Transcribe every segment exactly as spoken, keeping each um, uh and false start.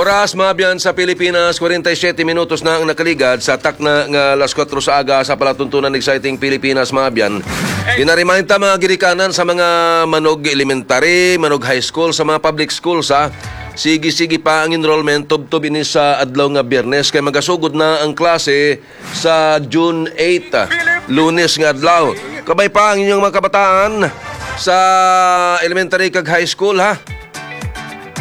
Oras, mga abyan, sa Pilipinas, kwarenta y siyete minutos na ang nakaligad sa takna nga alas kuwatro sa aga sa palatuntunan. Exciting Pilipinas, mga abyan. Ginaremind ta, mga ginikanan, sa mga Manog Elementary, Manog High School, sa mga public schools, ha. Sige-sige pa ang enrollment tubtob ini sa adlaw nga Biyernes, kay magasugod na ang klase sa June eight, ah, Lunes nga adlaw. Kabay pa ang inyong mga kabataan sa elementary kag high school, ha.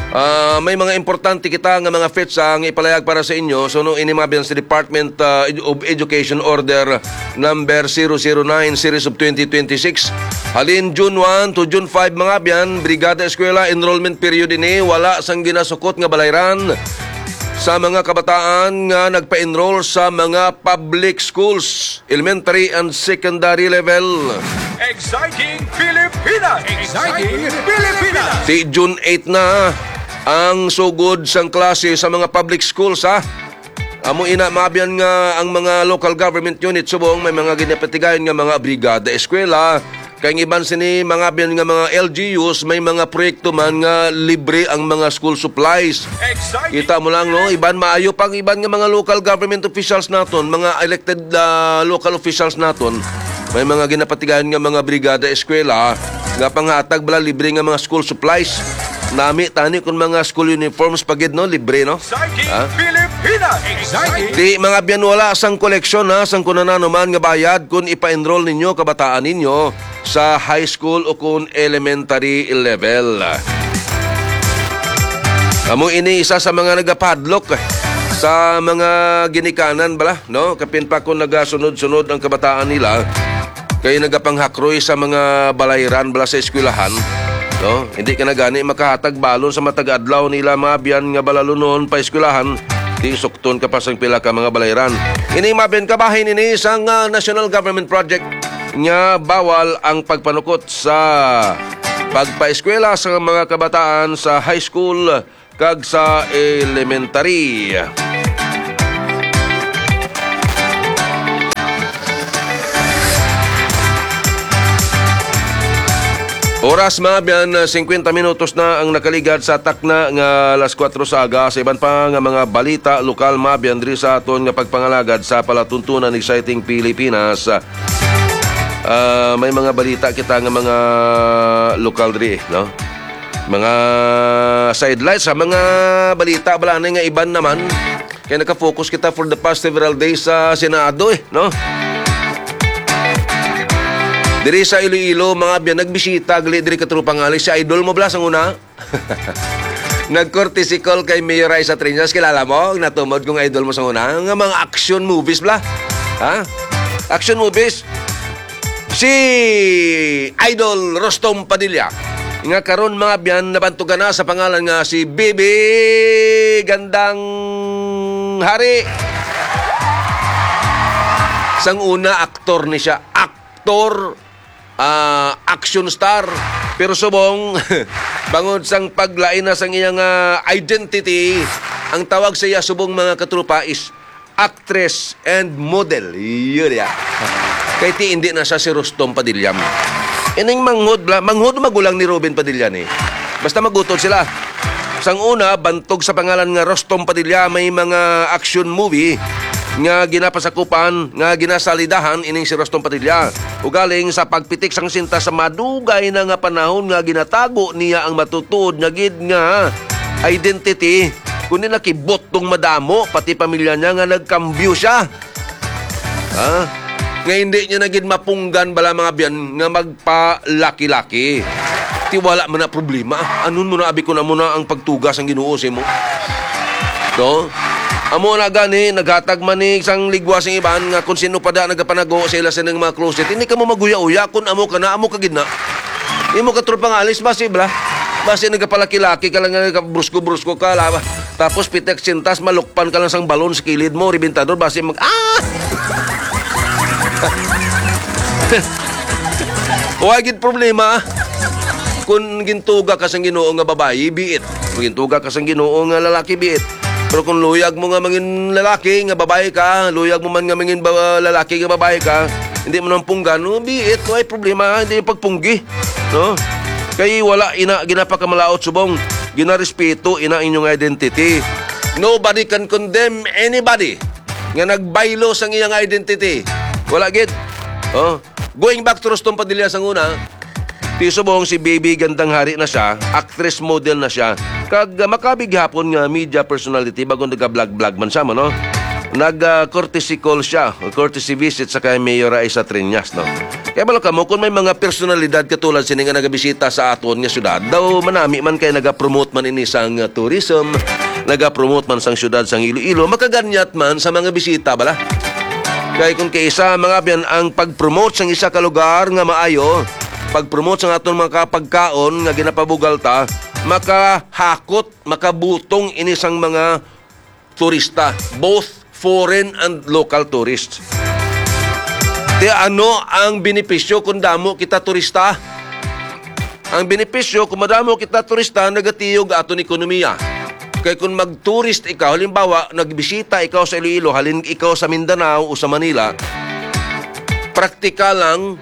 Ah, may mga importante kita nga mga FETSA nga ipalayag para sa inyo. So, no, ini mga abyan sa Department, ah, of Education Order number zero zero nine, series of twenty twenty-six. Halin June one to June five, mga abyan, Brigada Eskwela, enrollment period ini, wala sang ginasukot nga balayran sa mga kabataan nga nagpa-enroll sa mga public schools, elementary and secondary level. Exciting Pilipinas! Exciting Pilipinas! Ti June eight na ang sugod sang klase sa mga public schools, ha. Amo ina, mga abyan, nga ang mga local government unit subong may mga ginapatigayon nga mga brigada eskwela, kay ang iban sini, mga abyan, nga mga L G Us, may mga proyekto man nga libre ang mga school supplies. Exciting! Kita mo lang, no? Iban maayo pang iban nga mga local government officials naton, mga elected, ah, local officials naton, may mga ginapatigayon nga mga brigada eskwela nga panghatag bala libre nga mga school supplies. Nami tani kung mga school uniforms pa gid, no? Libre, no? Exciting, ha? Pilipinas! Exciting! Di, mga abyan, wala sang koleksyon, ha, sang kung ano man nga bayad kung ipa-enroll ninyo kabataan ninyo sa high school o kung elementary level. Amo ini isa sa mga nagapadlok sa mga ginikanan bala, no? Kapin pa kung nagasunod-sunod ang kabataan nila, kay nagapanghakroy sa mga balayran bala sa eskwelahan, no? Hindi ka na gani makahatag balon sa matag adlaw nila, mga abyan, nga balalunon pa eskwelahan, di sukton ka pa sang pila ka mga balayran. Ini, mga abyan, kabahin ini sang, ah, national government project nga bawal ang pagpanukot sa pagpaeskwela sa mga kabataan sa high school kag sa elementary. Oras, mga abyan, singkwenta minutos na ang nakaligad sa takna nga alas kuwatro sa aga. Sa iban pa nga mga balita lokal, mga abyan, diri sa aton nga pagpangalagad sa palatuntunan, Exciting Pilipinas. Ah, may mga balita kita nga mga lokal diri, no? Mga sidelights sa mga balita bala ni nga iban naman. Kay naka-focus kita for the past several days sa Senado, eh, no? Diri sa Iloilo, mga abyan, nagbisita gali diri, katropa, nga si idol mo bala sang una. Nag-courtesy call kay Mayor Raisa Triñas, kilala mo? Natumod kong idol mo sa una. Nga mga action movies bala. Ha? Action movies. Si Idol Rostom Padilla, nga karon, mga abyan, nabantugan na sa pangalan nga si Bibi Gandang Hari. Sang una, aktor ni siya. Aktor, ah, action star. Pero subong, bangod sang paglain na sang iyang, ah, identity, ang tawag sa iya subong, mga katropa, is actress and model. Yun ya. Kay ti hindi na siya si Rostom Padilla. Ining manghod bala, manghod magulang ni Robin Padilla ni. Basta magutod sila. Sang una, bantog sa pangalan nga Rostom Padilla, may mga action movie nga ginapasakupan, nga ginasalidahan ining si Rostom Padilla. Ugaling sa pagpitik sang sinta sa madugay na nga panahon nga ginatago niya ang matutuod nga gid nga identity, kundi nakibot tong madamo, pati pamilya niya, nga nagkambyo siya. Ha? Nga hindi niya na gid mapunggan bala, mga abyan, nga magpalaki-laki. Ti wala man na problema. Anon mo na, abi, ko na mo na ang pagtuga sang Ginoo sa imo. No? Amo na gani, naghatag man ni sang ligwa sing iban nga kung sino pa da nagapanago sa ila sining mga closet. Hindi ka mo maguya-uya kung amo ka na, amo ka gid na. Imo ka, tropa, nga alis, basi bala. Basi nagapalaki-laki ka lang, nagabrusko-brusko ka, laba. Tapos pitek sintas, malukpan ka lang sang balon sa kilid mo, ribintador, basi mag, ah! Wa gid problema. Kung gintuga ka sang Ginoo nga babayi, be it. Kung gintuga ka sang Ginoo nga lalaki, be it. Pero kung luyag mo nga mangin lalaki nga babayi ka, luyag mo man nga mangin ba-, lalaki nga babayi ka, hindi mo nang punggan, no, be it, way problema, hindi yung pagpunggi, no? Kay wala ina ginapakamalaot subong, ginarespeto ina inyong identity. Nobody can condemn anybody nga nagbaylo sang iyang identity. Wala gid. Oh, going back to Rustom Padilla sang una, ti subong si Baby Gandang Hari na siya, actress model na siya. Kag, ah, makabig hapon nga media personality bago naga-vlog-vlog man siya, no? Nag, ah, courtesy call siya, courtesy visit sa kay Mayor Raisa Triñas, no? Kaya balo kamo, kung may mga personalidad katulad sini nga nagabisita sa aton nga syudad, daw manami man kay nagapromote man ini sang, ah, tourism, nagapromote man sang syudad sang Iloilo, makaganyat man sa mga bisita bala. Kay kung kaisa, mga abyan, ang pag-promote sang isa ka lugar nga maayo, pag-promote sang aton mga kapagkaon nga ginapabugal ta, makahakot, makabutong ini sang mga turista, both foreign and local tourists. Ti ano ang benepisyo kung damo kita turista? Ang benepisyo, kung madamo kita turista, nagatiyog aton ekonomiya. Kay kung mag-tourist ikaw, halimbawa, nagbisita ikaw sa Iloilo, halin ikaw sa Mindanao o sa Manila, praktikal lang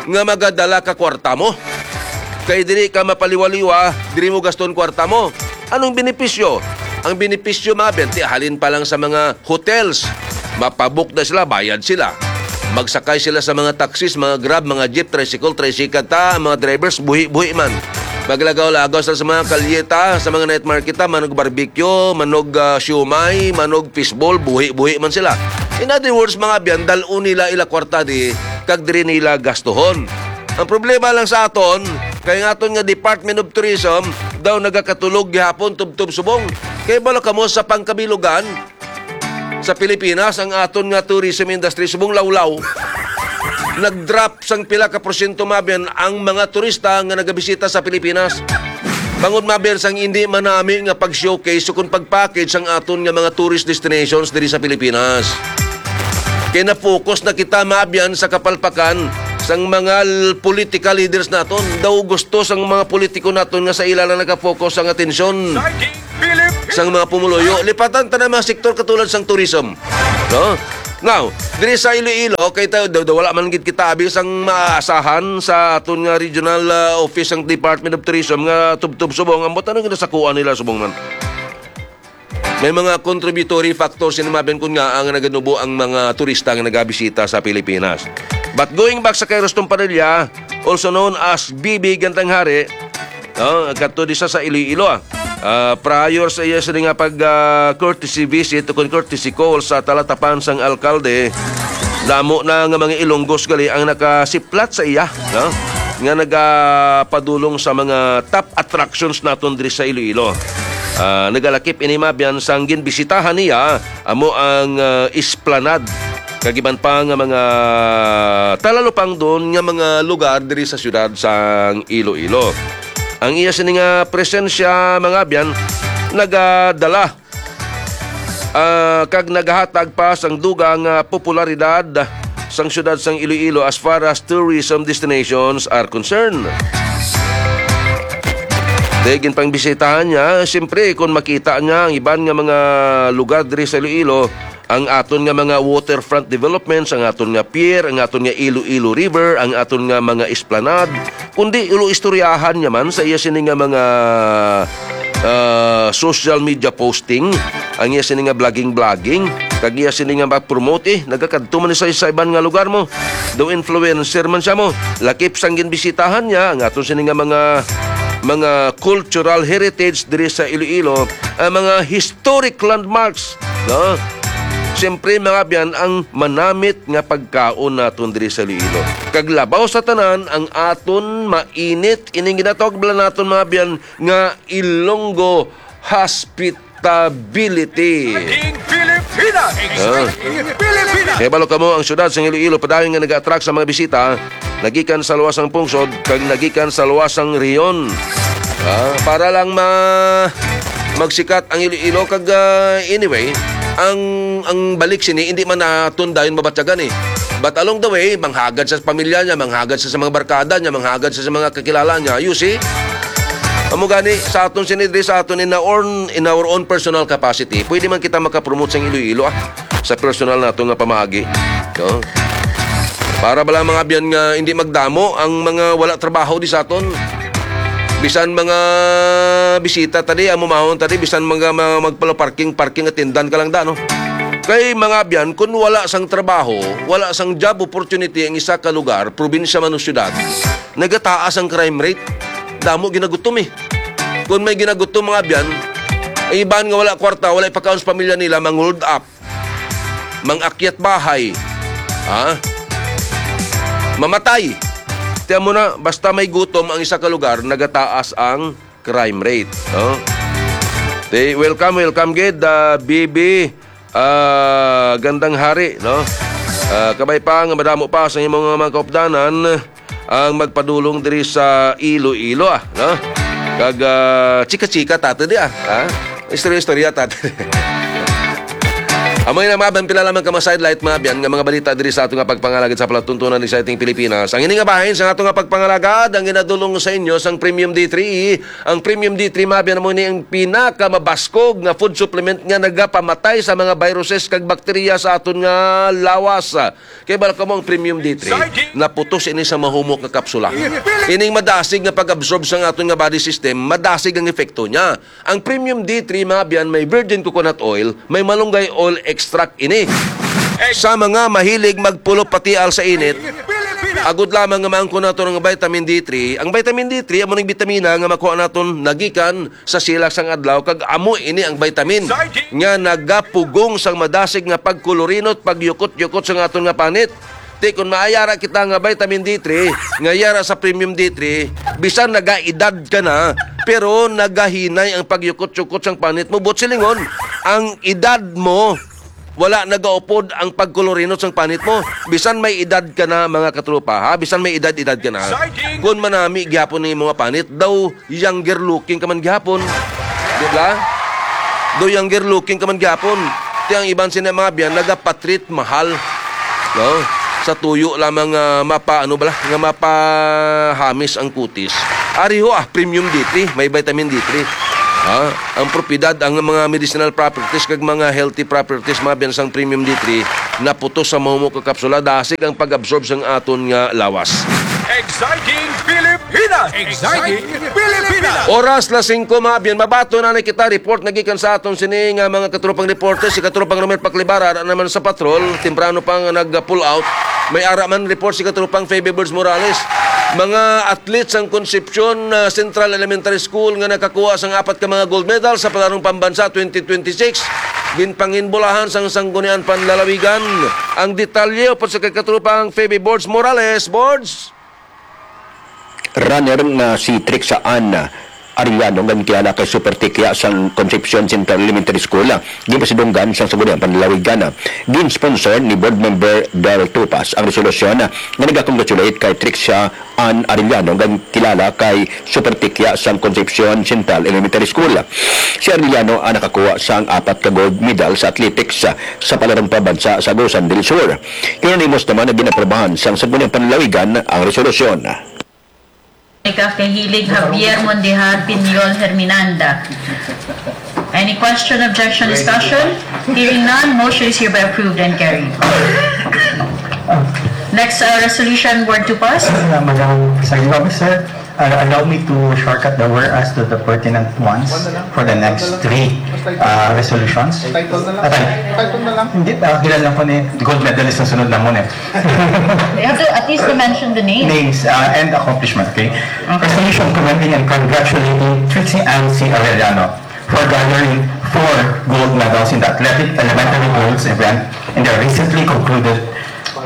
nga magadala ka kwarta mo. Kay dili ka mapaliwa-liwa, diri mo gaston kwarta mo. Anong benepisyo? Ang benepisyo, mga abyan, ti halin pa lang sa mga hotels. Mapabook na sila, bayad sila. Magsakay sila sa mga taxis, mga Grab, mga jeep, tricycle, tricycle ta, ang mga drivers, buhi-buhi man. Maglagaw-lagaw sila sa mga kalye ta, sa mga night market ta, manog barbecue, manog, ah, siomay, manog fishball, buhi-buhi man sila. In other words, mga abyan, dal-on nila ila kwarta di, kag diri nila gastuhon. Ang problema lang sa aton, kay ang aton nga Department of Tourism daw nagakatulog gihapon tubtob subong. Kay balo kamo sa pangkabilugan, sa Pilipinas, ang aton nga tourism industry subong lawlaw. Nag-drop sang pila ka porsyento, mga abyan, ang mga turista nga nagabisita sa Pilipinas. Bangod, mga abyan, sang hindi manami nga pag-showcase o kung pag-package sang aton nga mga tourist destinations diri sa Pilipinas. Kay na-focus na kita, mga abyan, sa kapalpakan sang mga l-, political leaders naton. Daw gusto sang mga politiko naton nga sa ila lang naka-focus ang atensyon sang mga pumuluyo. Lipatan ta na mga sektor katulad sang tourism. No? Now, diri sa Iloilo, kay ta-, daw, daw wala man gid kita abi sang maasahan sa aton nga regional, ah, office sang Department of Tourism nga tubtob subong. Ambot ano ginasakuan nila subong man? May mga contributory factors ini, mga abyan, kun ngaa nga naganubo ang mga turista nga nagabisita sa Pilipinas. But going back sa kay Rustom Padilla, also known as B B Gandang Hari, no, kadto di sa, sa Iloilo, ah. Ah, prior sa iya sini nga pag, ah, courtesy visit o kun courtesy call sa talatapan sang alkalde, damo na nga mga Ilonggos gali ang nakasiplat sa iya, no, nga nagapadulong sa mga top attractions naton diri sa Iloilo. Ah, nagalakip ini, mga abyan, sang ginbisitahan niya amo ang, ah, Esplanade, kag iban pa nga mga talalupangdon nga mga lugar diri sa siyudad sang Iloilo. Ang iya sini nga presensya, mga abyan, nagadala, ah, kag nagahatag pa sang dugang nga popularidad sang siyudad sang Iloilo as far as tourism destinations are concerned. Di ginpangbisitahan niya, siyempre, kung makita niya ang iban nga mga lugar diri sa Iloilo, ang aton nga mga waterfront developments, ang aton nga pier, ang aton nga Iloilo River, ang aton nga mga esplanade, kundi ilo-istoryahan niya man sa iya sini nga mga, ah, social media posting, ang iya sini nga blogging-blogging, kag iya sini nga ma-promote, eh, nagakadto man sa, sa iban nga lugar mo. Daw influencer man siya mo. Lakip sang ginbisitahan niya ang aton sini nga mga, mga cultural heritage diri sa Iloilo, ang mga historic landmarks, no? Siyempre, mga abyan, ang manamit nga pagkaon naton diri sa Iloilo. Kag labaw sa tanan, ang aton mainit, ining ginatawag bala naton, mga abyan, nga Ilonggo Hospitality. King Pilipinas! Ah. King Pilipinas! Kay balo kamo, ang syudad sang Iloilo padayon nga nag-attract sa mga bisita, nagikan sa luwas sang pungsod kag nagikan sa luwas sang rehiyon. Ah, para lang ma-, magsikat ang Iloilo kag, ah, anyway, ang, ang balik sini hindi man naton dayon mabatyagan, eh. But along the way, manghagad sa pamilya niya, manghagad sa, sa mga barkada niya, manghagad sa, sa mga kakilala niya. You see? Amo gani, sa aton sini diri sa aton in our own, in our own personal capacity, pwede man kita makapromote sang Iloilo, ah, sa personal nato nga pamaagi. No? Para bala, mga abyan, nga hindi magdamo ang mga wala trabaho di sa aton. Bisan mga bisita ta di, amo mahon ta di, bisan mga, mga magpalo-parking, parking attendant ka lang da, no? Kay mga abyan, kung wala sang trabaho, wala sang job opportunity ang isa ka lugar, probinsya man o syudad, nagataas ang crime rate. Damo ginagutom eh. Kung may ginagutom mga abyan, ang iban nga wala kwarta, wala ipakaon sa pamilya nila, mang-hold up, mang-akyat bahay, ha? Mamatay. Tiyan mo na, basta may gutom ang isa ka lugar, nagataas ang crime rate, no? Te, welcome, welcome gid, ah, B B, ah, Gandang Hari, no? Ah, kabay pa nga madamo pa sa imong mga kaupdanan ang magpadulong diri sa Iloilo, ah, no? Kag, ah, chika-chika ta ta di, ah, ha? Istorya-istorya ta ta di. Amo na, mga abyan, pila lamang ka mga sidelight, mga abyan, nga mga balita diri sa ato nga pagpangalagad sa palatuntunan, exciting Pilipinas. Ang ini nga bahin sa ato nga pagpangalagad, ang ginadulong sa inyo sang Premium D three. Ang Premium D three, mga abyan, amo ni ang pinakamabaskog nga food supplement nga nagapamatay sa mga viruses kag bakterya sa aton nga lawas. Kay bala kamo ang Premium D three, naputos ini sa mahumok nga kapsula. Ining madasig nga pag-absorb sa aton nga body system, madasig ang epekto niya. Ang Premium D three, mga abyan, may virgin coconut oil, may malunggay oil extract ini. Sa mga mahilig magpulop patial sa init, agod lamang nga maangkon nato ang vitamin D three. Ang vitamin D three amo ning bitamina nga makuha naton nagikan sa silak sang adlaw, kag amo ini ang vitamin nga nagapugong sang madasig nga pagkolorinot, pagyukot-yukot sang aton nga panit. Ti, kung maayara kita nga vitamin D three, nga yara sa premium D three, bisan nagaedad ka na, pero nagahinay ang pagyukot-yukot sang panit mo. Buot silingon, ang edad mo, wala nagaupod ang pagkolorinot sang panit mo. Bisan may edad ka na, mga katropa, ha? Bisan may edad-edad ka na. Kung manami gyapon ang imo nga panit, daw younger looking ka man gihapon. Di ba? Do younger looking ka man gihapon. Ti ang iban sina mga biyan, nagapatreat mahal. No? Sa tuyo lamang nga mapa, ano bala, nga mapahamis ang kutis. Ari ho, ah, premium D three, may vitamin D three. Ha? Ang propiedad, ang mga medicinal properties kag mga healthy properties, mga biyan sang premium D three, naputos sa mahumok nga kapsula, dasig ang pag-absorb sang aton nga lawas. Exciting Pilipinas! Exciting Pilipinas! Oras las singko, mga biyan. Mabaton na kita report nga gikan sa aton sini nga mga katropang reporter, si katropang Romel Paclibara, ara naman sa patrol, temprano pa nga nag-pull out. May ara man report si katropang Feby Birds Morales. Mga athletes sang Concepcion, ah, Central Elementary School nga nakakuha sang apat ka mga gold medal sa Palarong Pambansa twenty twenty-six, ginpanginbulahan sang Sangguniang Panlalawigan. Ang detalye upod sa kay katropang Feby Birds Morales. Birds! Runner nga si Trixie Ann Arellano, nga kilala kay Super Tikya sang Concepcion Central Elementary School, ginpasidunggan sang Sangguniang Panlalawigan. Gin-sponsor ni Board Member Del Tupas ang resolusyon nga nag-congratulate kay Trixie Ann Arellano, nga kilala kay Super Tikya sang Concepcion Central Elementary School. Si Arellano ang nakakuha sang apat ka gold medal sa athletics sa Palarong Pambansa sa Agusan del Sur. Kinunimos naman nga ginaprobahan sang Sangguniang Panlalawigan ang resolusyon. Kay Hilig Javier Mondejar Piñol Herminanda. Any question, objection, discussion? Hearing none, motion is hereby approved and carried. Next, uh, resolution, word to pass. Uh, Madam Presiding Officer, uh, allow me to shortcut the whereas to the pertinent ones for the next three, uh, resolutions. Title na lang. Ah, title. Title na lang. Hindi, uh, kilala lang po ni gold medalist ang sunod namon eh. You have to at least mention the name. Names, uh, and accomplishment, okay? Okay. Resolution commending and congratulating Trixie Ann C. Arellano for garnering four gold medals in the Athletic Elementary Goals event in the recently concluded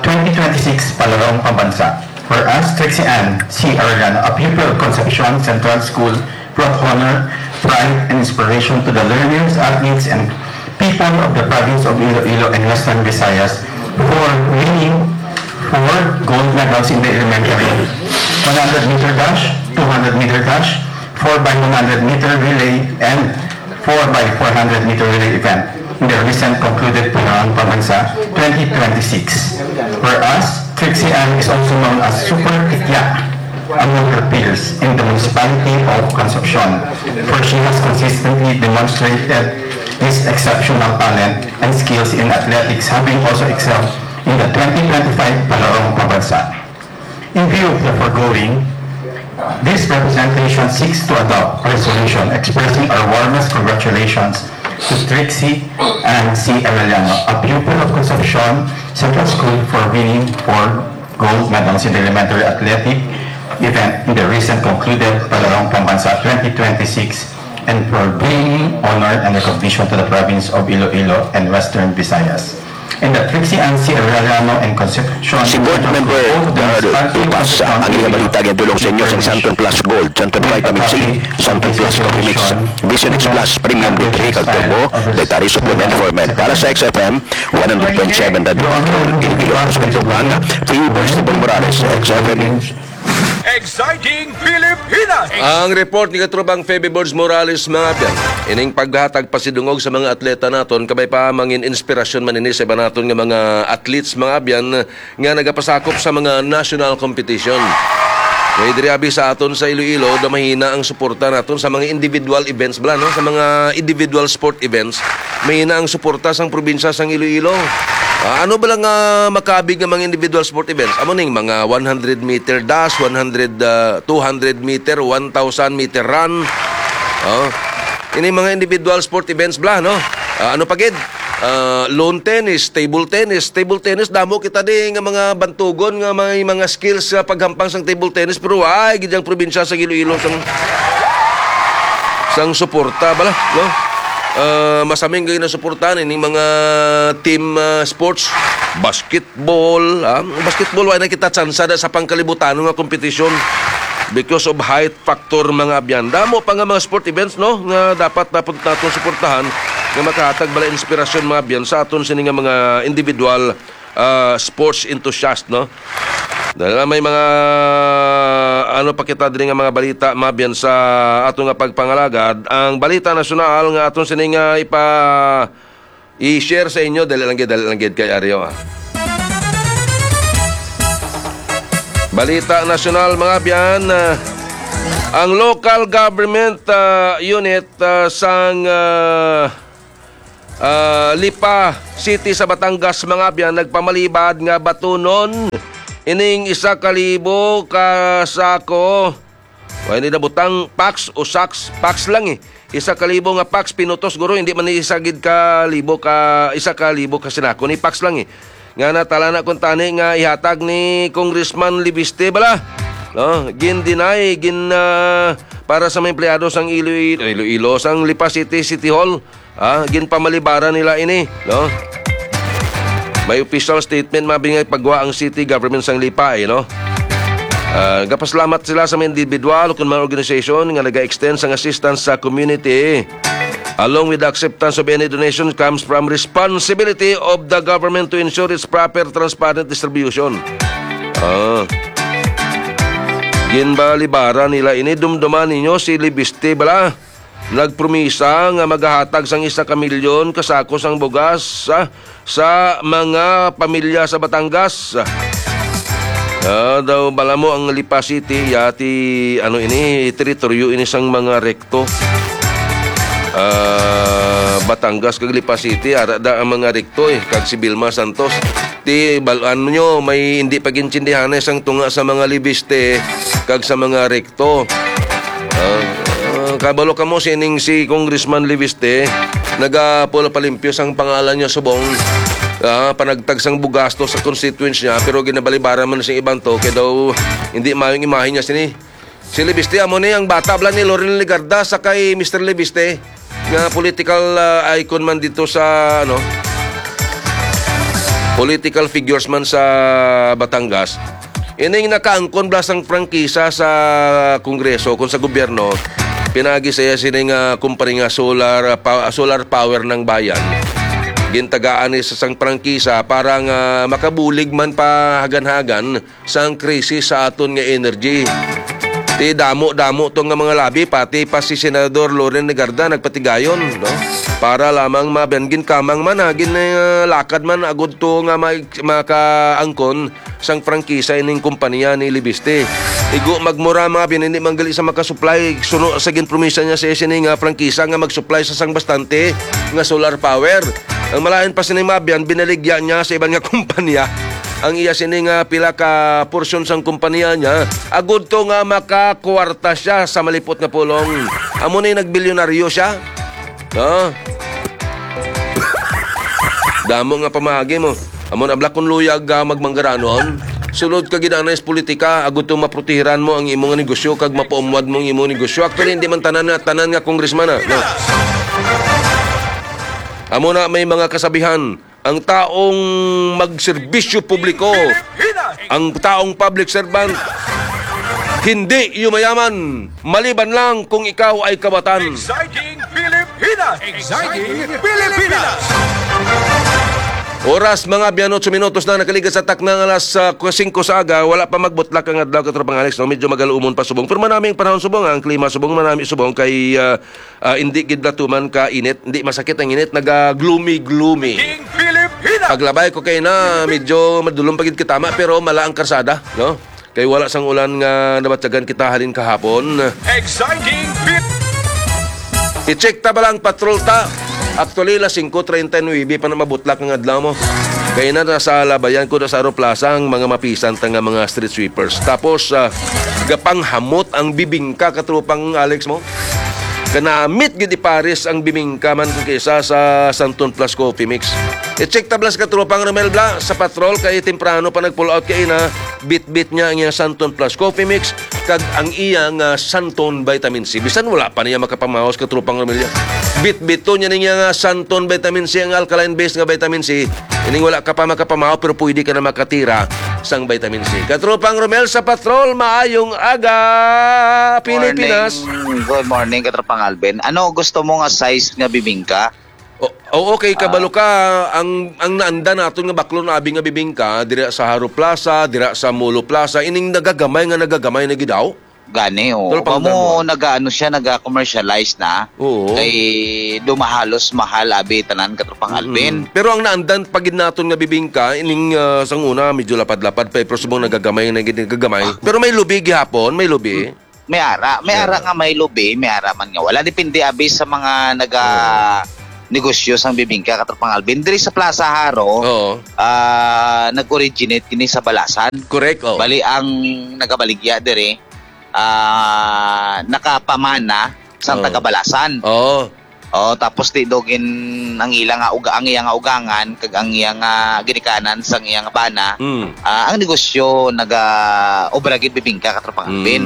twenty twenty-six Palarong Pambansa. Whereas Trixie Ann C. Arellano, a pupil of Concepcion Central School, brought honor, pride, and inspiration to the learners, athletes, and people of the province of Iloilo and Western Visayas for winning four gold medals in the elementary one hundred meter dash, two hundred meter dash, four by one hundred meter relay, and four by four hundred meter relay event in the recent concluded Palarong Pambansa twenty twenty-six. Whereas Trixie Ann is also known as Super Tikya among her peers in the municipality of Concepcion, for she has consistently demonstrated this exceptional talent and skills in athletics, having also excelled in the twenty twenty-five Palarong Pambansa. In view of the foregoing, This representation seeks to adopt a resolution expressing our warmest congratulations to Trixie Ann C. Arellano, a pupil of Concepcion Central School, for winning four gold medals in the elementary athletic event in the recent concluded Palarong Pambansa twenty twenty-six and for bringing honor and recognition to the province of Iloilo and Western Visayas. And the Trixie Ann C. Arellano and Concepcion Si Board Central Member School, both of them Darrell sparkling Tupas, ang iya balita nga tulong sa inyo sa Santon Plus Gold, Santon Vitamin C, Santon Plus Coffee Mix, Vision X Plus Premium D three kag Turbo Dietary Supplement for Men. Para sa X F M, one hundred point seven The Control, Iloilo, San Juan, P U Boys Tibong Morales, X F M. Exciting Pilipinas! Ang report ni Katrubang Feby Borges Morales, mga abyan. Ining paghatag pasidungog sa mga atleta naton, kabay pa mangin inspirasyon man ini sa iba naton nga mga athletes, mga abyan, nga nagapasakop sa mga national competition. Kay diri abi sa aton sa Iloilo, daw mahina ang suporta naton sa mga individual events bala, no? Sa mga individual sport events, mahina ang suporta sang probinsya sang Iloilo. Ah, ano bala nga makabig nga mga individual sport events? Amo ning mga one hundred meter dash, one hundred, ah, two hundred meter, one thousand meter run. Oh. Ini mga individual sport events bala, no? Ah, ano pa gid? Ah, lawn tennis, table tennis. Table tennis, damo kita di nga mga bantugon nga may mga skills sa paghampang sang table tennis, pero ay gid ang probinsya sa Iloilo sang sang suporta bala, no? Ah, masaming gid na suportahan ini mga team, ah, sports, basketball, ah. Basketball, wala na kita tsansa da sa pangkalibutano nga kompetisyon because of height factor, mga abyan. Damo pa nga mga sport events, no, nga dapat, dapat naton suportahan nga makahatag bala inspirasyon, mga abyan, sa aton sini nga mga individual, ah, sports enthusiast, no? Dahil may mga, ano pa kita diri nga mga balita, mga abyan, sa ato nga pagpangalagad. Ang balita nasyonal nga aton sini nga ipa, i-share sa inyo, dali lang gid, dali lang gid kay Ario, ah. Balita nasyonal, mga abyan, ah, ang local government, ah, unit, ah, sang, ah, ah, Lipa City sa Batangas, mga abyan, nagpamalibad nga batunon ining isa ka libo ka sako. Wa ni nabutang packs o sacks, packs lang eh. Isa ka libo nga packs pinutos, guro, hindi man ni isa gid ka libo ka, isa ka libo ka sinako ni packs lang eh. Nga natala na kuntani nga ihatag ni Congressman Leviste bala. No, gin-deny, gin, ah, para sa mga empleyado sang Iloilo, Iloilo, sang Lipa City City Hall. Ah, ginpamalibaran nila ini, no? May official statement, mga abyan, nga ipagwa ang city government sang Lipa, eh, no? Ah, gapasalamat sila sa mga individual o kung mga organisasyon nga naga-extend sang assistance sa community, along with the acceptance of any donation comes from responsibility of the government to ensure its proper transparent distribution. Ah. Ginbalibaran nila ini, dumduman ninyo si Leviste bala. Nagpromisa nga magahatag sang isa ka milyon ka sako sang bugas sa, sa mga pamilya sa Batangas. Ah, daw bala mo ang Lipa City, yati, ano ini, teritoryo ini sang mga Recto. Ah, Batangas kag Lipa City, ara da ang mga Recto eh, kag si Vilma Santos. Ti, bal-an nyo, may hindi pag-intindihan sang tunga sa mga Leviste kag sa mga Recto. Ah, ah, kabalo kamo sining si Congressman Leviste, nagapula palimpyo sang pangalan niya subong, ah, panagtag sang bugasto sa constituents niya, pero ginabalibaran man sing iban to, kay daw hindi maayong imahe niya sini. Si Leviste, amo ni ang bata bala ni Loren Legarda sa kay Mister Leviste, nga political, ah, icon man dito sa, ano, political figures man sa Batangas. Ining nakaangkon bala sang prangkisa sa Kongreso, kung sa gobyerno, pinagi sa iya sini nga kumpanya nga solar, ah, pa-, solar power ng bayan. Gintagaan ni sa sang prangkisa para nga makabulig man pa hagan-hagan sang krisis sa aton nga energy. Ti damo-damo to nga mga labi, pati pa si Senador Loren Legarda nagpatigayon, no? Para lamang mabangin kamang man, ha, gin, ah, lakad man agud to nga ma-, makaangkon sang prangkisa ining kompanya ni Leviste. Igo magmura, mga abyan, hindi man gali sa makasupply, suno sa ginpromisa niya sa sini nga prangkisa nga magsupply sa sang bastante nga solar power. Ang malain pa sini, mga abyan, binaligya niya sa iban nga kompanya. ang iya sini nga pila ka porsyon sang kompanya niya, agud to nga makakwarta siya sa malipot nga pulong. Amo ni nagbilyonaryo siya. No? Damo nga pamahagi mo. Amo na bala kun luyag ka magmanggaranon. Sulod ka gid anay sa politika, agud to maprotehiran mo ang imo nga negosyo kag mapaumwad mo ang imo negosyo. Actually, hindi man tanan nga, tanan nga congressman, ah, no? Amo na may mga kasabihan, ang taong magserbisyo publiko, ang taong public servant, hindi yumayaman, maliban lang kung ikaw ay kawatan. Exciting Pilipinas! Exciting Pilipinas! Oras, mga biyan, otso minutos na nakaligad sa takna nga alas, ah, singko sa aga. Wala pa magbutlak ang adlaw, katropang Alex, no? Medyo magaluumon pa subong. Pero manami ang panahon subong, ang klima subong, manami subong kay, ah, ah, hindi gid natuman ka init, hindi masakit ang init, naga-gloomy-gloomy. King Pilipinas! Paglabay ko kay na, medyo madulom pa gid katama, pero mala ang karsada, no? Kay wala sang ulan nga nabatyagan kita halin kahapon. Exciting Pil- I-check ta bala ang patrol ta. Actually, alas singko treinta y nuebe pa na mabutlak ang adlaw mo. Kay na nasa labayan ko na sa Aro Plaza ang mga mapisan ta nga mga street sweepers. Tapos, ah, gapanghamot ang bibingka, katropang Alex mo. Kanamit gid ipares ang bibingka man kung kaysa sa Santon Plus Coffee Mix. I-check ta bala sa katropang Romel bala sa patrol kay temprano pa nag-pull out kay na bitbit niya ang iyang Santon Plus Coffee Mix kag ang iyang, ah, Santon Vitamin C. Bisan wala pa niya makapamahaw sa katropang Romel. Bitbit to niya ning iyang, ah, Santon Vitamin C, ang alkaline base nga vitamin C. Ining wala ka pa makapamahaw pero pwede ka na makatira sang vitamin C. Katropang Romel sa patrol, maayong aga, Pilipinas. Morning. Good morning, katropang Alvin. Ano gusto mo nga size nga bibingka? O, o, okay, kabalo Ah. ka, ang, ang naanda naton nga baklon abi nga bibingka, dira sa Haro Plaza, dira sa Molo Plaza, ining nagagamay nga nagagamay na gid daw. Gani, oh. Tol, Kamo pangdamon. Naga-ano siya, naga-commercialize na. Oo. Kay dumahalos mahal, abi, tanan, katropang Mm. Alvin. Pero ang naandan pa gid naton nga bibingka, ining, ah, sang una, medyo lapad-lapad pa, eh, pero subong nagagamay na gid, nagagamay. Ah. Pero may lubi gihapon, may lubi. May ara, may May ara ara. Nga may lubi, may ara man nga wala. Depende, abi, sa mga naga Oo. Negosyo sang bibingka, katropang Alvin. Diri sa Plaza Haro, Oo. ah, nag-originate kini sa Balasan. Correct, oh. Bali, ang nagabaligya diri, ah, nakapamana sang Oo. Taga Balasan. Oo. Oh, tapos ti dogin ang ila nga uga-, ang iya nga ugangan kag ang iya nga ginikanan sang iya nga bana, Mm. ah, ang negosyo naga-obra gid bibingka, katropang Mm. Alvin.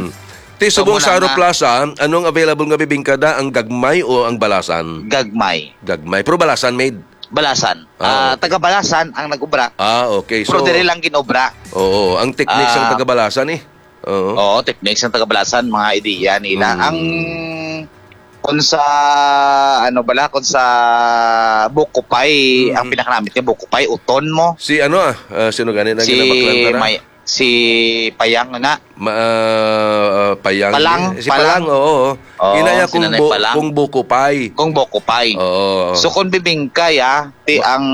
Ti So, subong muna sa Aro nga Plaza, anong available nga bibingka da? Ang gagmay o ang balasan? Gagmay. Gagmay. Pero balasan made? Balasan. Ah, Ah, okay. Taga Balasan ang nag-obra. Ah, okay. Pero So, diri lang ginobra. Oo, ang techniques ang Ah. Taga Balasan eh. Oo. Oo, techniques ang Taga Balasan, mga ideya nila. Mm. Ang, kung sa, ano bala, kung sa buko pie, Mm. ang pinakanamit niya, buko pie, uton mo. Si ano, ah, ah, sino gani na Si ginabaklan ka na? May-, si Payang na. Ma-, ah, Payang, Palang, eh. Si Palang. Palang, oo, oo. Oo, Ina niya si kung Nanay bu-, Palang. Kung buko pie. Kung buko pie. Oo. So, kung bibingka, ya, ti Ma- ang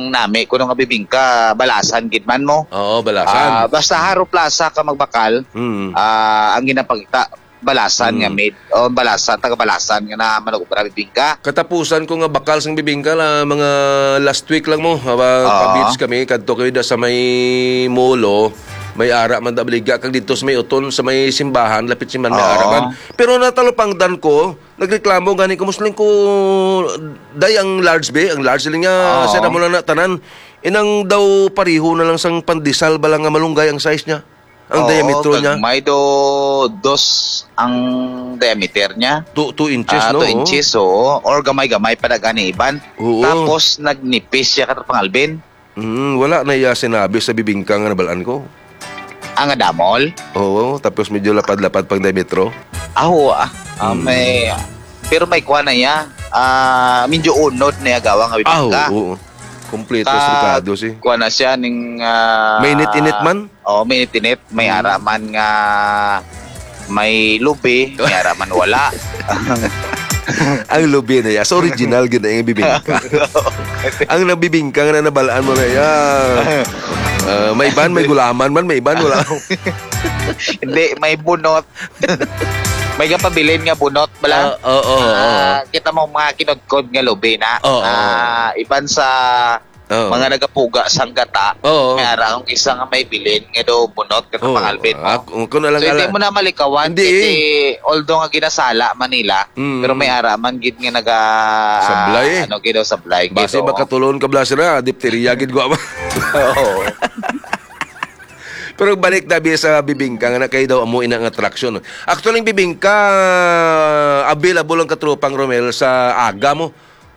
nami, kuno nga bibingka, balasan gid man mo. Oo, balasan. Ah, basta Haro Plaza ka magbakal, Mm. ah, ang ginapakita, balasan nga Mm. made, o balasan, taga balasan nga na manugobra bibingka. Katapusan ko nga bakal sang bibingka la, mga last week lang mo, haba, Oo. pa-beach kami, kadto kami da sa may Molo, may ara man da baligya, kag dito sa may Uton, sa may simbahan, lapit simbahan, may Oo. ara man. Pero natalupangdan ko, nagreklamo gani ko, Muslim ko, day ang large be, ang large lang nga, Oo. sa damo lang na tanan. Inang daw pariho na lang sang pandesal ba lang nga malunggay ang size niya? Ang Oo, diametro niya? Gagmay do, dos ang diameter niya. Two, two inches, Ah, no? Two inches, oo. Or gamay-gamay pa na gani, iban. Oo. Tapos, nagnipis siya, katropang Alvin. Mm, wala na iya sinabi sa bibingka nga nabalaan ko. Ang adamol? Oo, tapos medyo lapad-lapad pang diametro. Ah, oo, ah. Ah, Mm. may, pero may kuha na iya. Ah, medyo unod na iya gawa nga Ah, bibingka. Oo. Kompleto Ka-, sa Ricardo, si. Kuha na siya ning, ah, Mainit-init man? Oo, mainit-init. May Mm. ara man nga may lubi, may ara man wala. Ang lubi na iya. So, original gid na yung bibingka. Ang nabibingka nga na nabalaan mo na iya. Ah, may iban, may gulaman man, may iban, wala. Hindi, may bunot. May gapabilin nga bunot, bala? Ah, oo, oo, oo. Ah, kita mo mga kinudkod nga lubi na. Oo. Ah, iban sa Oo. Mga nagapuga sang gata, Oo. may ara ang isa nga may bilin nga daw bunot, Katropa Oo. Alvin, Ah, no? kung, kung alang So, hindi ala- mo na malikawan, Hindi, kasi eh. although nga ginasala man nila, Mm. pero may ara man gid nga naga-, Sablay, eh. ano, gid daw, sablay, gid, Basi oo. makatulon ka bala sila, dipteriya gid gwa ba? Oo. Pero balik na bi sa bibingka nga na kay daw amo ina nga attraction. Actually, ang bibingka, available ang Katropang Romel sa aga mo.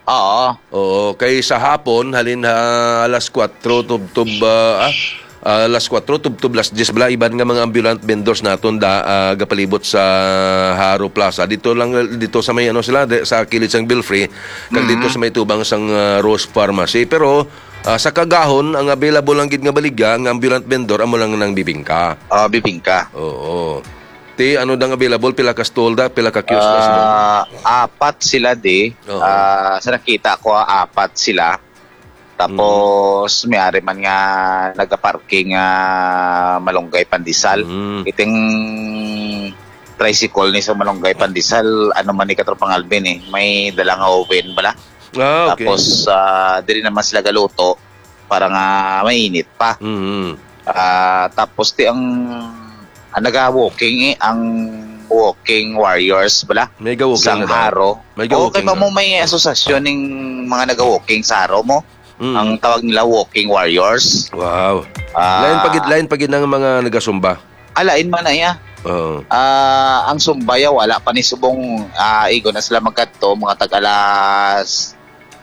Oo. Oo, kay sa hapon, halin ha alas kuwatro tubtob, ah, ah, alas kuwatro tubtob alas diyes bala, iban nga mga ambulant vendors naton da, ah, gapalibot sa Haro Plaza. Dito lang, dito sa may ano sila, de, sa kilid sang Belfry, kag dito Mhm. sa may tubang sang, ah, Rose Pharmacy. Pero, ah, sa kagahon, ang available lang gid nga baligya, ang ambulant vendor, amo lang nang bibingka. Ah, bibingka. Oo. Ti, ano dang available? Pila ka stall da? Pila ka kiosk da sila? Ah, apat sila, di. Oo. Ah, sa nakita ko, ah, apat sila. Tapos, Mm. may ari man nga nagaparking, ah, Malunggay Pandesal. Mm. Iting tricycle ni sa Malunggay Pandesal, ano man ni, Katropang Alvin, eh. May dala nga oven bala. Ah, okay. Tapos, ah, diri naman sila galuto para nga mainit pa. Mm. Ah, tapos ti ang, ang naga-walking, eh, ang walking warriors bala May ga-walking sang na daw. Haro. May Oo, kay ga-walking pa na. mo may asosasyon ning mga naga-walking sa Haro mo. Mm. Ang tawag nila walking warriors. Wow. Ah. Lain pa gid, lain pa gid ang mga nagasumba. Ah, lain man na iya. Oo. Ah, ang sumbaya wala pa ni subong, ah, igo na sila magkadto, mga tag alas,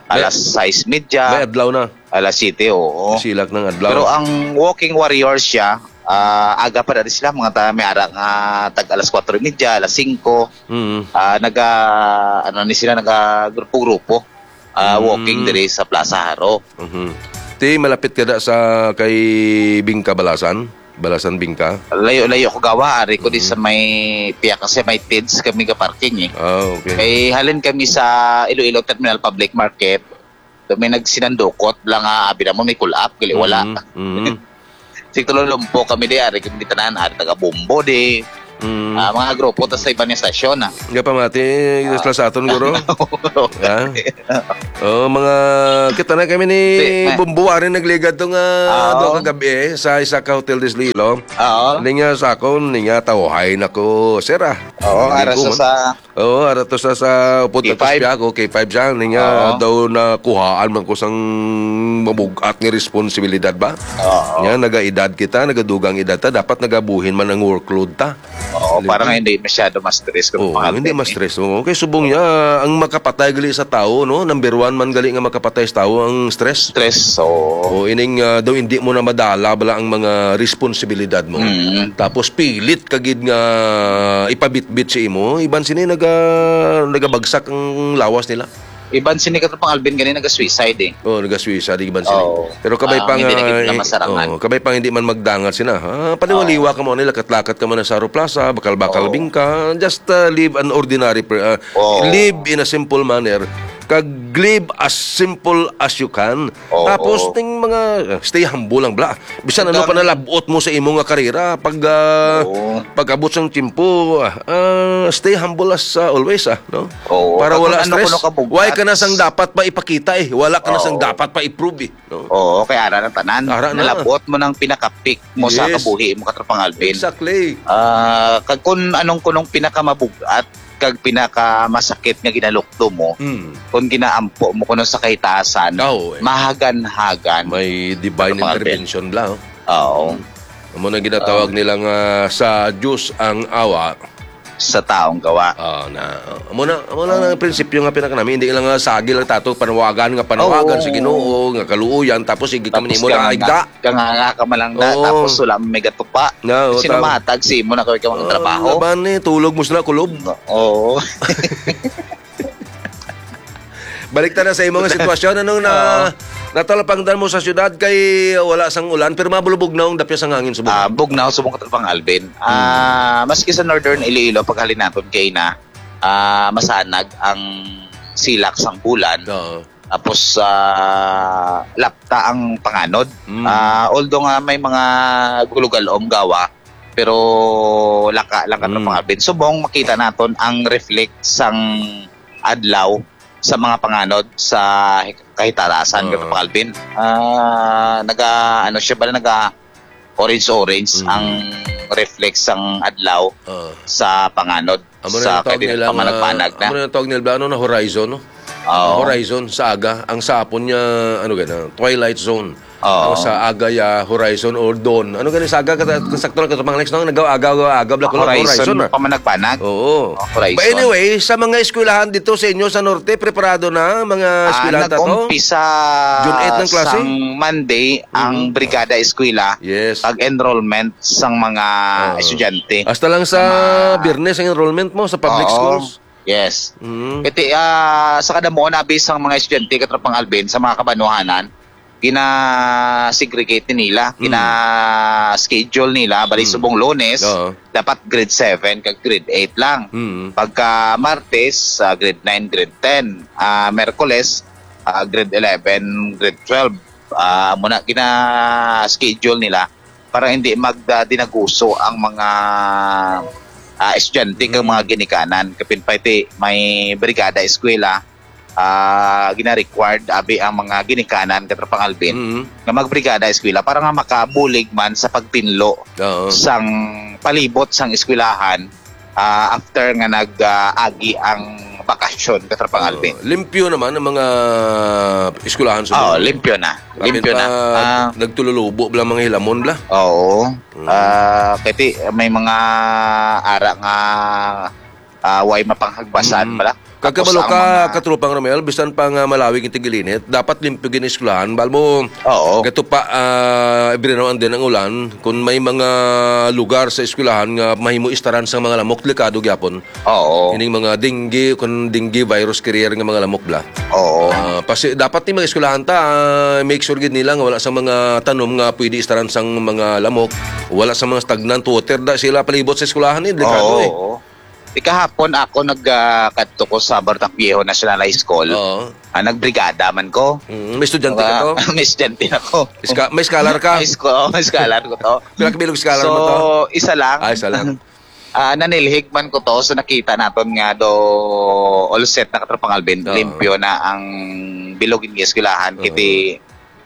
May alas sais medya, may adlaw na. alas siyete, oo. Silak ng adlaw. Pero ang walking warriors siya, ah, aga pa na rin sila, mga ta-, may ara nga tag alas kwatro medya, alas singko. Mm. Ah, naga, ano ni sila, naga grupo-grupo. Ah, Mm. walking diri sa Plaza Haro. Mhm. Ti, malapit ka da sa kay Bingka Balasan? Balasan Bingka? Layo-layo ko gawa, ari ko di Mm. sa may piyak kasi may tids kami ga parking eh. Ah, okay. Kay halin kami sa Iloilo Terminal Public Market, do may nagsinandukot lang nga abi namon may kulap, gali wala. Mm, mm. Sig tululumpo kami di, ari kami di tanan, ari taga Bombo di. Mm. Ah, mga grupo tas sa iban nga stasyon, ah. Nga pamati, Ah. sa aton, guro? Ha? Oh, mga, kita na kami ni Di, ma- Bombo, ari nagligad to nga Ah, duha oo. ka gabi, eh, sa isa ka hotel di sa Iloilo. Oo. Ninga sa akon, ninga tawhay na ko, sir, ah. Oo, Hindi ara ko sa, man. sa Oo, ara to sa, sa upod K five. Tapos siya ako, K five siya, ninga Oo. daw nakuhaan man ko sang mabug-at nga responsibilidad ba? Oo. Nga, nagaedad kita, nagadugang edad ta, dapat nagabuhin man ang workload ta. Oo, Di para ba? nga hindi masyado ma-stress kung Oo, mga hindi athlete, eh. ma-stress. Oo, kay subong niya, ang makapatay gali sa tao, no? Number one man gali nga makapatay sa tao ang stress. Stress, oo. O, ining, ah, daw hindi mo na madala bala ang mga responsibilidad mo. Mm. Tapos pilit ka gid nga ipabitbit sa imo, iban sini naga-, nagabagsak ang lawas nila. Iban sini, Katropang Alvin, gani naga-suicide, eh. Oh, naga-suicide, iban sini. Oo. Pero kabay Ah, pa hindi nga, na gid na eh, masarangan. Oo, kabay pa hindi man magdangat sina. Ah, paliwaliwa Oo. ka mo nila, katlakat ka man sa Haro Plaza, bakal-bakal Oo. bingka. Just, uh, live an ordinary per-, uh, Oo. live in a simple manner. Kag live as simple as you can. Oo. Tapos, ting mga, uh, stay humble lang, bla. Bisan ano Ang pa dami. nalabot mo sa imo nga karera, pag, ah, Oo. pag-abot sang tiyempo, ah, ah, stay humble as, ah, always, ah, no? Oo. Para Kag wala kung ano stress. kuno ka bug-at. Why ka na sang dapat pa ipakita, eh? Wala ka na sang Oo. dapat pa i-prove, eh, no? Oo, kay ara na tanan. Ara na. Nalabot mo nang pinaka-peak mo sa Yes. kabuhi mo, Katropang Alvin. Exactly. Ah, kag kung anong kunong pinakamabug-at, kag pinakamasakit nga ginalukdo mo, Mm. kung ginaampo mo kuno sa kahitaasan, Ah, oo, eh. mahagan-hagan. May divine Katropang Alvin. intervention bla, oh. Oo. Mm. Amo na ginatawag Ah. nila nga sa Diyos ang awa. Sa taong gawa. Ah, na, amo na, amo na ang prinsipyo nga pinakanami. Hindi lang nga sagi lang tato, panawagan nga panawagan Oo. sa Ginoo, nga kaluoyan, tapos sige ka man Tapos imo ka na nga, igda. ka nga, nga ka malangda, Oo. tapos wala may gatupa. Na, oo, Sino tama. matag sa imo na kay ka Oo, magtrabaho? laban eh, tulog mo sila, kulob. Oo. Balik ta na sa imo nga sitwasyon. Anong na, Oo. natalapangdan mo sa syudad kay wala sang ulan, pero mabulubog na ang dapya sang hangin subong? Ah, bugnaw subong, Katropang Alvin. Hmm. Ah, maski sa Northern Iloilo, paghalin naton kay na, ah, masanag ang silak sang bulan. Oo. Tapos, ah, lapta ang panganod. Hmm. Ah, although nga may mga gulugalom gawa, pero laka lang, Katropang Hmm. Alvin. Subong makita naton ang reflect sang adlaw sa mga panganod sa kahitalasan, Oo. Katropang Alvin. Ah, naga, ano siya ba, naga orange-orange Mm. ang reflex sang adlaw Oo. sa panganod, Amo na sa yung tawag kaibigan nila nga, pamanagbanagan na. amo na yung tawag nila, ano, na horizon, no? Oo. Horizon sa aga, ang sa hapon niya, ano gana, twilight zone. Oo. Ang sa aga ya horizon or dawn. Ano gani sa aga, kata-, sakto lang, Katropang Alex, no? Nagaw-, agaw, agaw, bla ko lang, Horizon, horizon, ah. Pamanagbanag. Oo. Oh, horizon. But anyway, sa mga eskwelahan dito sa inyo sa Norte, preparado na mga Ah, eskwelahan ta to? nag-umpisa June eight ng klase? sang Monday ang Mhm. Brigada Eskwela Yes. pag-enrollment sang mga Ah. estudyante. Hasta lang sa Sa mga Biyernes ang enrollment mo sa public Oo. schools? Yes. Mm. Iti, ah, sa kadamo na abi sang mga estudyante, Katropang Alvin, sa mga kabanwahanan, gina-segregate nila, Mm. gina-schedule nila, bali Mm. subong Lunes, Oo. dapat grade seven kag grade eight lang. Mm. Pagka Martes, ah, grade nine, grade ten. Ah, Merkules, ah, grade eleven, grade twelve. Ah, muna gina-schedule nila para hindi mag, ah, dinaguso ang mga, ah, estudyante kag Mm. mga ginikanan. Kapin pa iti may brigada eskwela, ah, gina-required abi ang mga ginikanan, Katropang Alvin, Mm. nga magbrigada eskwela para nga makabulig man sa pagtinlo Oo. sang palibot sang eskwelahan, ah, after nga nag, ah, agi ang bakasyon, Katropang Oo. Alvin. Limpyo naman ang mga eskwelahan sa Oo, Bohol. limpyo na. Kapin Limpyo pa, na. Ah. nagtululubo bla mga hilamon bla. Oo. Mm. Ah, kay ti, may mga ara nga, ah, way mapanghagbasan Mm. bla. Kag Tapos kabalo ang ka, mga Katropang Romel, bisan pa nga malawig ang tigilinit, dapat limpyo gid ang eskwelahan. Bal mo, Oo. gato pa, ah, every now and then ang ulan, kung may mga lugar sa eskwelahan nga mahimo istaran sa mga lamok, delikado gyapon. Oo. Ining mga dengue, kung dengue virus carrier nga mga lamok bla. Oo. Ah, pasi-, dapat ni mga eskwelahan ta, ah, make sure gid nila nga wala sa mga tanom nga pwede istaran sang mga lamok, wala sa mga stagnant water da sila palibot sa eskwelahan, eh, delikado, Oo, eh. oo. Di kahapon ako nag, ah, kadto ko sa Bartang Viejo National High School. Oo. Ah, nagbrigada man ko. Mm, may estudyante ka Mga to? may estudyante na ko. Iska-, may scholar ka? High school, oh, may scholar ko to. Pila ka bilog scholar So, mo to? isa lang. Ah, isa lang. Ah, nanilhig man ko to, so nakita naton nga do all set na, Katropang Alvin, Oo. limpyo na ang bilog nga eskwelahan. Oo. Kiti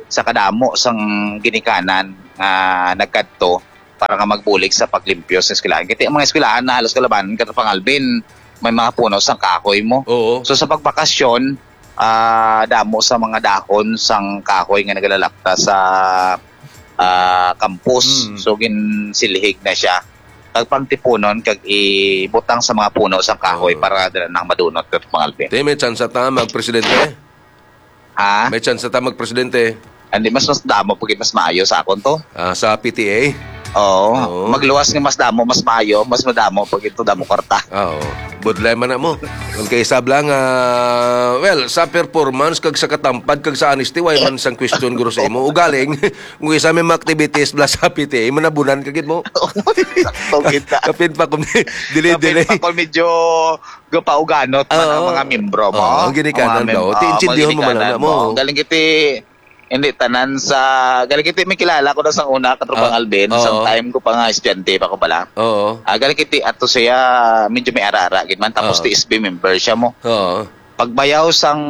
sa kadamo sang ginikanan nga nagkadto para nga magbulig sa paglimpyo sa eskwelahan. Kiti ang mga eskwelahan na halos kalabanan, Katropang Alvin, may mga puno sang kahoy mo. Oo. So sa pagbakasyon, ah, damo sa mga dahon sang kahoy nga nagalalapta sa, ah, campus. Mm. So, ginsilhig na siya. Kag pangtipunon kag ibutang sa mga puno sang kahoy Oo. para dala nang madunot, Katropang Alvin. Te, may tsansa ta magpresidente? Ha? May tsansa ta magpresidente? Hindi, mas, mas damo pag mas maayo sa akon to. Ah, sa P T A? Oo. Oo. Magluwas nga mas damo, mas maayo, mas madamo pag ito damo kwarta. Oo. Budlay man na mo. Kung kay sab lang, ah, well, sa performance kag sa katampad kag sa honesty, way man sang question guro sa imo. Ugaling, kung isa may mga activities bla sa P T A, manabunan ka gid mo. Sakto kita. Kapin pa kung dili, Kapin dili. pa kung medyo gapauganot man ang Oo. mga miyembro mo. Oo, ang ginikanan Oo, mem-, daw. Ti oo, intindihan mo man ginikanan lang mo. mo. Galing kiti, hindi tanan sa, galing kiti may kilala ko na sang una, Katropang Ah, Alvin, oo. sang time ko pa nga estudyante pa ko pala. Oo. Ah, galing kiti ato siya, medyo may ara-ara gid man, tapos Oo. T S B member siya mo. Oo. Pagbayaw sang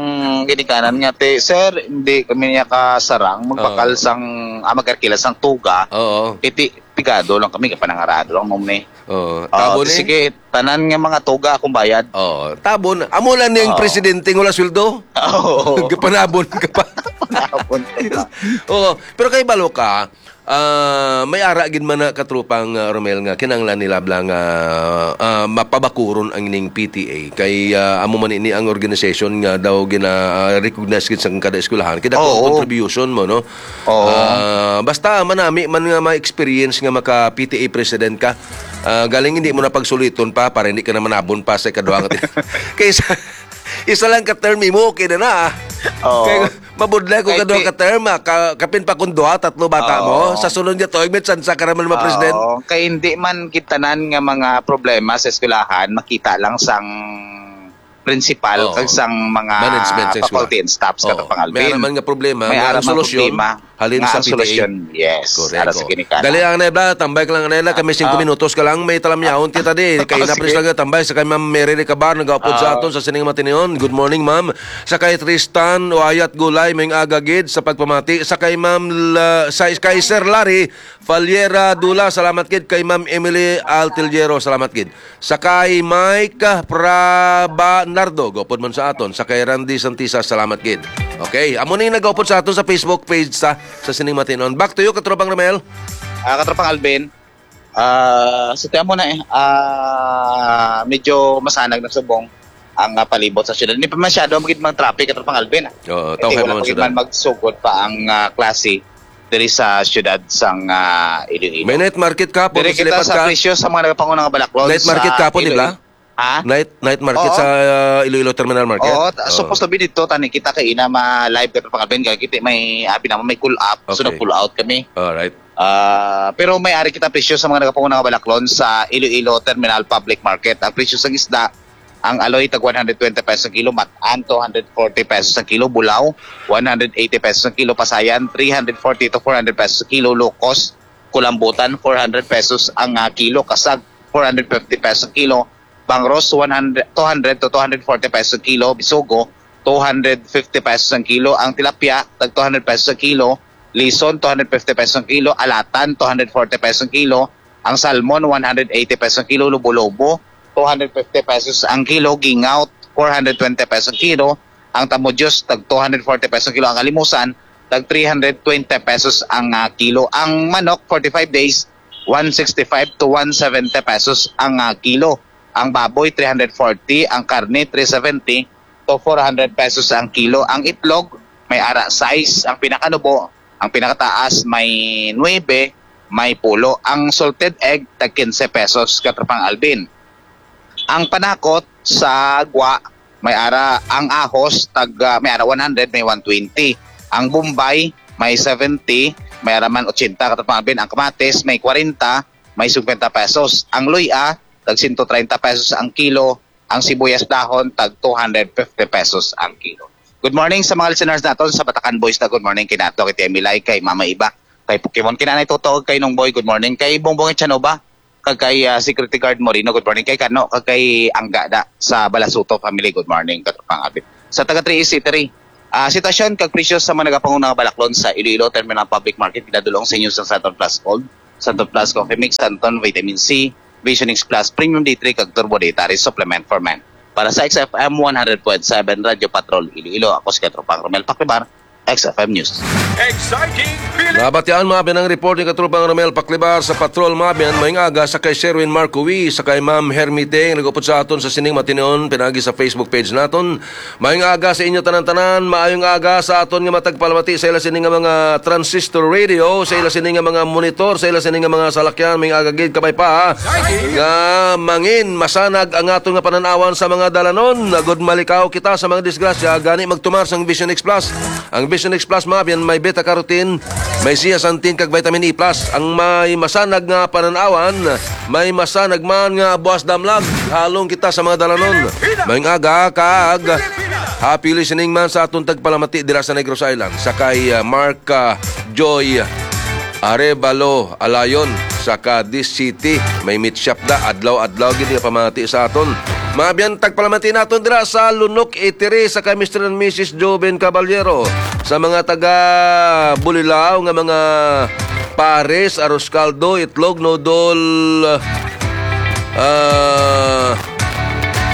ginikanan nga, ti, "Sir, hindi kami niya kasarang, magbakal Oo. sang, ah, mag-arkila sang tuga." Oo. Iti, pigado lang kami, kapanangarado lang mo ni. Oo. Oh, Tabo ni? sige, tanan nga mga tuga akong bayad. Oo. Tabo na. Amo lang ning Oo. presidente nga wala sweldo? Oo. Gapanabon ka pa. Panabon ka pa. Oo. Pero kay balo ka, ah, may ara gid man na, Katropang, ah, Romel, nga kinahanglan nila bla nga, ah, mapabakuron ang ning P T A. Kay, ah, amo man ini ang organization nga daw gina, ah, recognize gid sa kada eskwelahan. Kay dako ang Oo. contribution mo, no? Oo. Ah, basta manami man nga ma-experience nga maka P T A president ka, ah, galing hindi mo na pagsuliton pa para hindi ka na manabon pa sa ikaduha nga ti-, kaysa isa lang ka term imo, okay na na, ah. Oo. Kay mabudlay ko Kay kaduha ti- ka term, ah, ka-, kapin pa kung duha, tatlo bata Oo. mo, sa sunod nga tuig, may tsansa ka naman ma-president. Oo. Kay hindi man gid tanan nga mga problema sa eskwelahan, makita lang sang principal Oo. kag sang mga Management sa eskwela. faculty and staffs, Oo. Katropang Alvin. May ara man nga problema, May nga ara ang man solusyon, problema. Halin nga sa ang P T A. Solusyon, yes, Correct, para sa oo. Ginikanan. Dali lang, Nebla. Tambay ka lang, Nebla. Kami singko Ah. minutos ka lang. May talamyaon kita di. Kay Oh, na, please sige. lang, tambay sa kay Ma'am Mary Recabal, nag-upod sa Ah. aton sa sining matinuon. Good morning, ma'am. Sa kay Tristan Wayat Gulay, may agagid sa pagpamati. Sa kay Ma'am La-, sa kay Sir Larry Faliera Dula, salamat gid. Kay Ma'am Emily Altillero, salamat gid. Sa kay Mike Prabanardo, gupod man sa aton. Sa kay Randy Santisa, salamat gid. Okay, amo ni nag-upod sa aton sa Facebook page sa, sa sining matinuon. Back to you, Katropang Romel. Ah, Katropang Alvin, ah, sa tiyan mo na eh, ah, medyo masanag na subong ang, ah, palibot sa syudad. Hindi pa masyado magid mang traffic, Katropang Alvin, ah. Oo, Kasi tawag wala mo pa gid sila. man magsugod pa ang, ah, klase diri sa syudad sang, ah, Iloilo. May night market kahapon, Diri kita masilipad sa ka. presyo sa mga nagapanguna nga balaklon Night market sa kahapon, di ba? Iloilo. Ha? Night, night market Oo. sa, uh, Iloilo Terminal Market? Oo, ta-, Oo. supposed to be dito, tani kita kay ina ma-live ka pang Alvin, kay kita may, abi naman, may cool up. So, Okay. nag-pull out kami. Alright. Ah, pero may ari kita presyo sa mga nagapanguna nga balaklon sa Iloilo Terminal Public Market. Ang presyo sang isda, ang aloy tag one hundred twenty pesos ang kilo, matan two hundred forty pesos ang kilo, bulaw one hundred eighty pesos ang kilo, pasayan three hundred forty to four hundred pesos ang kilo, locos, kulambutan four hundred pesos ang, ah, kilo, kasag four hundred fifty pesos ang kilo, bangros one hundred, two hundred to two hundred forty pesos ang kilo, bisugo two hundred fifty pesos ang kilo, ang tilapia tag two hundred pesos ang kilo, lison two hundred fifty pesos ang kilo, alatan two hundred forty pesos ang kilo, ang salmon one hundred eighty pesos ang kilo, lobo-lobo two hundred fifty pesos ang kilo, gingaw four hundred twenty pesos ang kilo, ang tamudyos tag two hundred forty pesos ang kilo, ang alimusan tag three hundred twenty pesos ang, ah, kilo, ang manok forty-five days one sixty-five to one seventy pesos ang, ah, kilo. Ang baboy, three hundred forty. Ang karne, three seventy to four hundred pesos ang kilo. Ang itlog, may ara sais. Ang pinakanubo, ang pinakataas, may nuebe, may pulo. Ang salted egg, tag quince pesos, Katropang Alvin. Ang panakot sa gwa, may ara ang ahos, tag, ah, may ara one hundred, may one twenty. Ang bombay, may seventy, may ara man eighty, Katropang Alvin. Ang kamatis, may forty, may fifty pesos. Ang luya, tag one hundred thirty pesos ang kilo. Ang sibuyas dahon, tag two hundred fifty pesos ang kilo. Good morning sa mga listeners naton sa Batacan Boys na good morning kay Nato, kay Emilay, kay Mama Iba, kay Pokemon, kay Nanay Toto, kay Nong Boy, good morning, kay Bongbong Echanova, kag kay, ah, Security Guard Moreno, good morning, kay Kano, kag kay Angga da sa Balasuto family, good morning, Katropang Abit. Sa taga three eight three, ah, sitwasyon kag presyo sa mga nagapanguna nga balaklon sa Iloilo Terminal Public Market, pinadulong sa inyo sa Santon Plus Gold, Santon Plus Coffee Mix, Santon Vitamin C, Vision X Plus, Premium D three, kag Turbo Dietary Supplement for Men. Para sa X F M one hundred point seven Radyo Patrol Iloilo, ako si Katropang Romel Paclibar, X F M News. Exciting feeling. Nabatian, mga abyan, ang report ni Katropang Romel Paclibar sa Patrol, mga abyan, maayong aga sa kay Sherwin Marcowi, sa kay Ma'am Hermite, nag-upod sa aton sa sining matinuon, pinagi sa Facebook page naton. Maayong aga sa inyo tanan-tanan, maayong aga sa aton nga matagpalamati sa ila sini nga mga transistor radio, sa ila sini nga mga monitor, sa ila sini nga mga salakyan, maayong aga gid, kabay pa, ha? Nga mangin, masanag ang aton nga panan-awan sa mga dalanon. Agud malikaw kita sa mga disgrasya, gani magtumar sang Vision X Plus. Ang Vision X Plus, mga abyan, may beta carotene, may zeaxanthin kag vitamin E plus. Ang may masanag nga panan-awan, may masanag man nga buas damlag. Halong kita sa mga dalanon. Maayong aga kag happy listening man sa aton tagpalamati dira sa Negros Island. Sa kay, ah, Mark, ah, Joy Arevalo Alayon sa Cadiz City. May meat shop da. Adlaw-adlaw gid nga pamati sa aton. Mga abyan, tagpalamati naton dira sa Lunok Eatery sa kay Mister and Missus Joven Caballero. Sa mga taga Bulilao nga mga pares, arroz caldo, itlog, noodle, ah,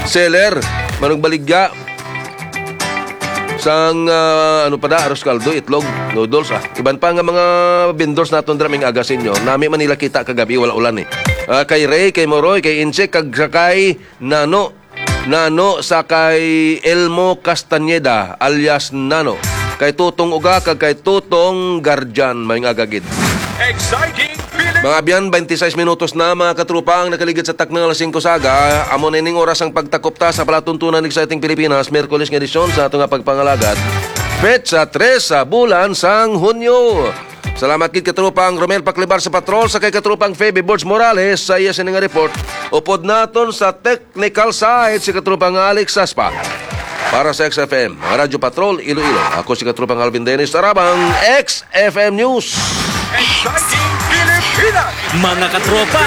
seller, manugbaligya, sang, ah, ano pa da, arroz caldo, itlog, noodles, ah. Iban pa nga mga vendors naton dira, maayong aga sa inyo. Nami man nila kita kagabi, wala ulan eh. Ah, kay Ray, kay Moroy, kay Inche, kag sa kay Nano. Nano sa kay Elmo Castañeda, alias Nano. Kay Tutong Uga, kag kay Tutong Guardian, maayong aga gid. Exciting feeling. Mga abyan, twenty-six minutos na, mga katrupa, ang nakaligid sa takna nga alas singko sa aga. Amo na ining oras ang pagtakop ta sa palatuntunan Exciting Pilipinas, Miyerkules nga edisyon sa ato nga pagpangalagad. Petsa tres sa bulan sang Hunyo. Salamat gid, katrupa, ang Romel Paclibar sa Patrol, sa kay katrupang Feby Borge Morales sa iya sini nga report. Upod naton sa technical side si katrupang Alex Saspa. Para sa X F M, Radyo Patrol, Iloilo, ako si Katropang Alvin Dennis, tarabang X F M News. Exciting Pilipinas! Mga katropa,